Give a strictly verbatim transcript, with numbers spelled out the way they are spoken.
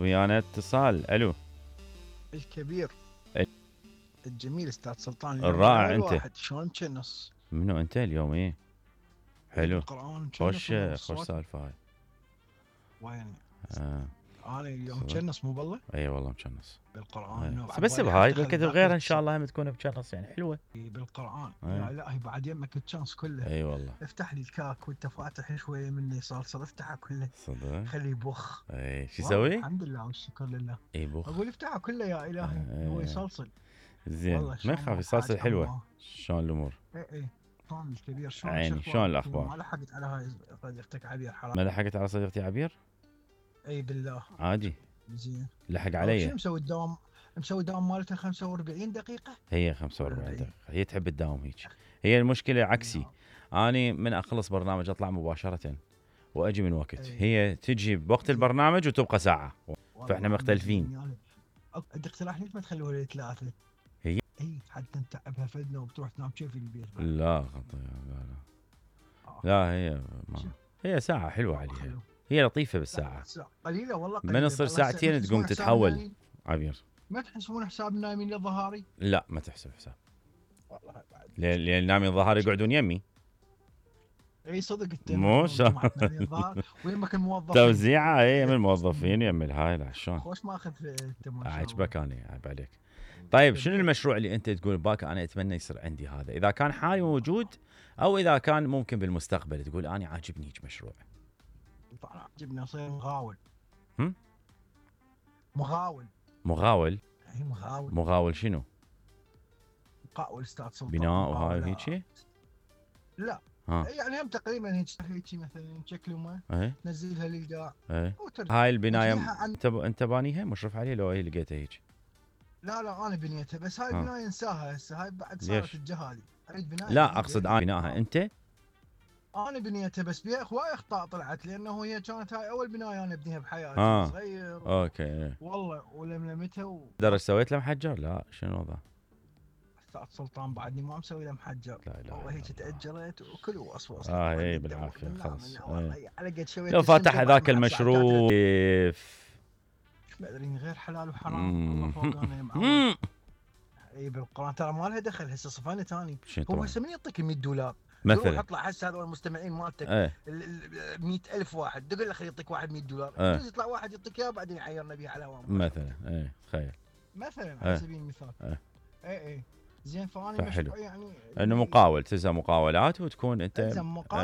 ويانا اتصال. الو الكبير ال- الجميل استاذ سلطان. الرائع انت. واحد شلون تشنص؟ منو انت اليوم؟ ايه حلو. القرآن خوش خوش سالفه هاي. وين؟ آه. انا اليوم مشنص مو بالله؟ اي والله مشنص بالقرآن. بس بهاي بكتب غيرها ان شاء الله هم تكون مشنص يعني حلوه بالقرآن. أي. يا الهي بعد يمك الشانس كله. اي والله. افتح لي الكاك وانت فاتح شويه مني صلصه، افتحه كله صدق. خليه يبخ. اي شو يسوي؟ الحمد لله والشكر لله. اي بخ. اقول افتحه كله يا الهي. هو يصلصل زين. ما يخاف يصلصل حلوه. شلون الامور؟ اي اي شلون الكبير؟ شلون عيني شلون الاخبار؟ ما لحقت على هاي صديقتك عبير حرام. ما لحقت على صديقتي عبير؟ اي بالله عادي. زين. لحق علي. شو مسوي الدوام؟ مسوي الدوام مالتها خمسة وأربعين دقيقة؟ هي خمسة وأربعين دقيقة، هي تحب الدوام هيك. هي المشكلة عكسي، اني من اخلص برنامج اطلع مباشرة واجي من وقت، أي. هي تجي بوقت البرنامج وتبقى ساعة، فاحنا مختلفين. يعني عندك اقتراح ليش ما تخلوها لثلاثة؟ هي؟ اي حتى نتعبها فدنا وبتروح تنام كيف في البيت. لا خطير. لا لا لا هي ما. هي ساعة حلوة عليها. حلو. هي لطيفة بالساعة. قليلة والله قليلة. من تصير ساعتين تقوم تتحول عبير. ما تحسبون حساب نايمين للظهاري؟ لا ما تحسب حساب. والله بعد. لان نايمين الظهاري يقعدون يمي. اي صدق انت. مو ويمك الموظفين. توزيعة اي من الموظفين يم الهاي. لا شلون؟ خوش ماخذ انت ما شاء الله. عجبك انا عيب عليك. طيب شنو المشروع اللي انت تقول باك انا اتمنى يصير عندي هذا، اذا كان حالي موجود او اذا كان ممكن بالمستقبل تقول انا عاجبني هيك مشروع؟ طبعا عاجبني اصير مغاول. هم؟ مغاول. مغاول؟ اي مغاول. مغاول شنو؟ مقاول استاذ سلطان. بناء وهاي وهيك؟ لا ها. يعني هم تقريبا هيك هيك مثلا شكل ما ايه تنزلها للقاع. ايه. هاي البنايه انت انت بانيها مشرف عليها لو هي لقيتها هيك؟ لا لا انا بنيتها بس هاي البنايه انساها هسه، هاي بعد صارت الجهالي. اريد بنايه. لا اقصد انا بناها انت. انا بنيتها بس بيها هواي اخطاء طلعت، لانه هي كانت هاي اول بنايه انا ابنيها بحياتي. آه. صغير و... اوكي والله ولملمتها و... درج سويت له محجر؟ لا شنو الوضع؟ استاذ سلطان بعدني ما مسوي له محجر. لا لا والله هيك تاجرت وكل وصوص. اه اي بالعافيه خلص. على قد شويه لو فاتح ذاك المشروع كيف ما ادري غير حلال وحرام. الله فوقنا يا معود. اي بالقران ترى ما لها دخل. هسه صفانه ثاني. هو هسه من يعطيك مية دولار مثلا؟ اطلع هسه هذول المستمعين مالتك ايه. مية ألف واحد تقول له خليه يعطيك واحد مية دولار. ايه. يطلع واحد يعطيك اياه بعدين يعيرنا به على هوام مثلا. ايه تخيل مثلا على سبيل المثال. ايه اي اي زين. فانا مشروع يعني انه مقاول تلزم مقاولات وتكون انت